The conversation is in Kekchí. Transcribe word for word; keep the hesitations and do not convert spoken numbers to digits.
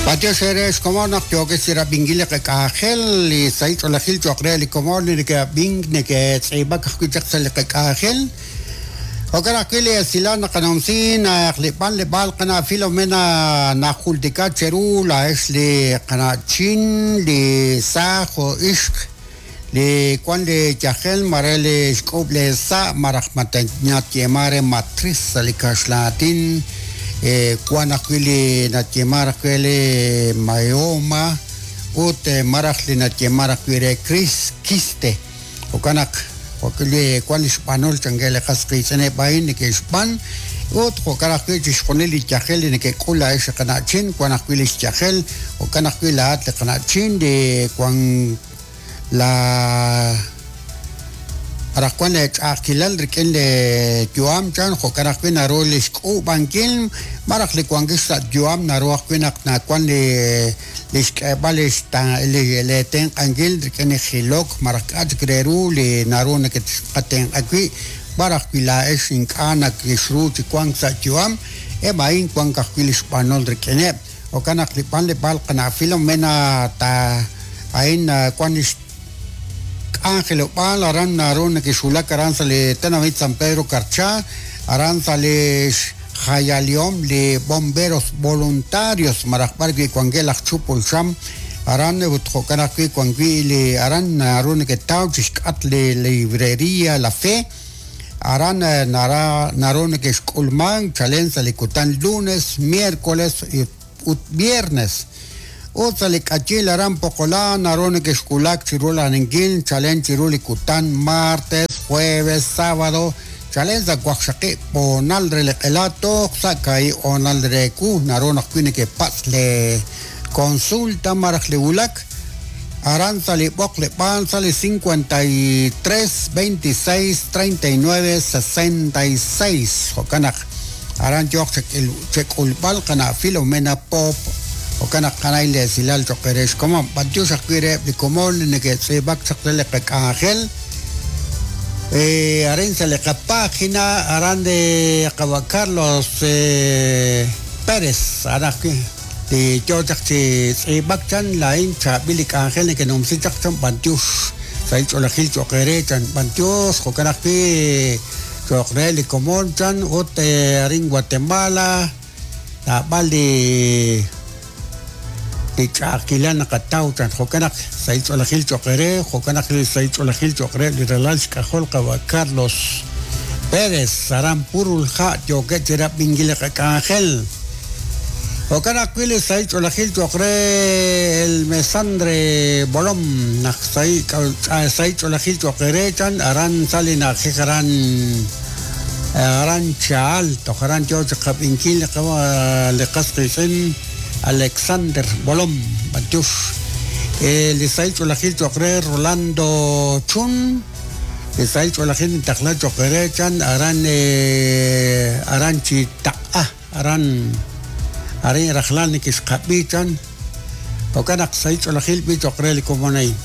B'antiox ere xkomon naq yookeb' chi rab'inkil li qak'anjel li sahil ch'oolejil cho'q re li komon li neke'ab'ink neke'tz'iib'ak ajwi' chaq sa' li qak'anjel. Jo'kan ajwi' li esilal naqanumsi naq li b'anleb'aal qana' Filomena najultika cheru laa'ex li qana'chin li saaj jo' ixq li wan li yajel mare li xk'ub' le sa' maraj natyema re matriz sa' li kaxlaatin wan ajwi' li natyema ajwi' li myoma ut maraj li natyema ajwi' re quiste jo'kan naq li wan li xb'anol chankeb' li qas qiitz'ineb' a'in neke'xb'an ut jo'kan ajwi' chixjunil li yajel li neke'k'ul laa'ex li qana'chin wan ajwi' li xyajel jo'kan ajwi' laa'at li qana'chin li wan la maraj wan le ch'a'ajkilal rik'in li yu'am chan jo'kan ajwi' naru li xk'ub'ankil maraj li wankil sa' yu'am naru ajwi' naq nawan li li xk'eeb'al li li li tenq'ankil rik'in li jilok maraj k'a' chik re ru li naru neketqatenq'a wi' b'ar ajwi' laa'ex ink'a' nakexru chi wank sa' yu'am eb' a'in wank ajwi' li xb'anol rik'ineb' jo'kan naq li b'anleb'aal qana' Filomena ta a'in wan li k'anjelob'aal aran naru nekexwulak aran sa' li tenamit San Pedro Carchá aran sa' li xjayalihom li bomberos voluntarios maraj b'ar wi' wankeb' laj chupul xam aran ut jo'kan ajwi' wan wi' li aran naru neketaw chixk'at li librería La Fe aran nara naru nekexk'ulman chalen sa' li kutan lunes, miércoles ut viernes ut sa' li k'achil aran Poqolá naru nekexwulak chiru laninkil chalen chiru li kutan martes, jueves, sábado chalen sa' waqxaqib' honal re li q'ela toj sa' kahi' honal re ku naru ajwi' nekepatz' le consulta maraj li wulak aran sa' li b'oqleb'aal sa' li cincuenta y tres, veintiséis, treinta y nueve, sesenta y seis jo'kan naq aran yooq chek'ulb'al qana' Filomena Pop jo'kan naq qanay li esilal cho'q re xkomon b'antiox ajwi' reheb' li komon li neke'tz'iib'ak chaq re li qak'anjel arin sa' li qapágina aran de qawa' Carlos Pérez aran ajwi' li yoo chaq chi tz'iib'ak chan laa'in chaab'il li k'anjel neke'numsi chaq chan b'antiox sahil ch'oolejil cho'q re chan b'antiox jo'kan ajwi' cho'q re li komon chan ut arin Guatemala naab'al li li ch'a'ajkilal naqataw chan jo'kan naq sahil ch'oolejil cho'q re jo'kan naq li sahil ch'oolejil cho'q re li ralal xk'ajol qawa' Carlos Pérez aran Purulha' yookeb' chi rab'inkil li qak'anjel jo'kan ajwi' li sahil ch'oolejil cho'q re el Mesandre Bolom naq sahil ch'oolejil cho'q re chan aran sa' li na'ajej aran aran Chaal toj aran yoo chi qab'inkil li qas qiitz'in Alexander Bolom b'antiox li sahil ch'oolejil cho'q re Rolando Chun li sahil ch'oolejil ntaqla cho'q re chan aran aran chi taq'a aran arin rajlal nekexqab'i chan jo'kan naq sahil ch'oolejil b'i cho'q re li komon a'in.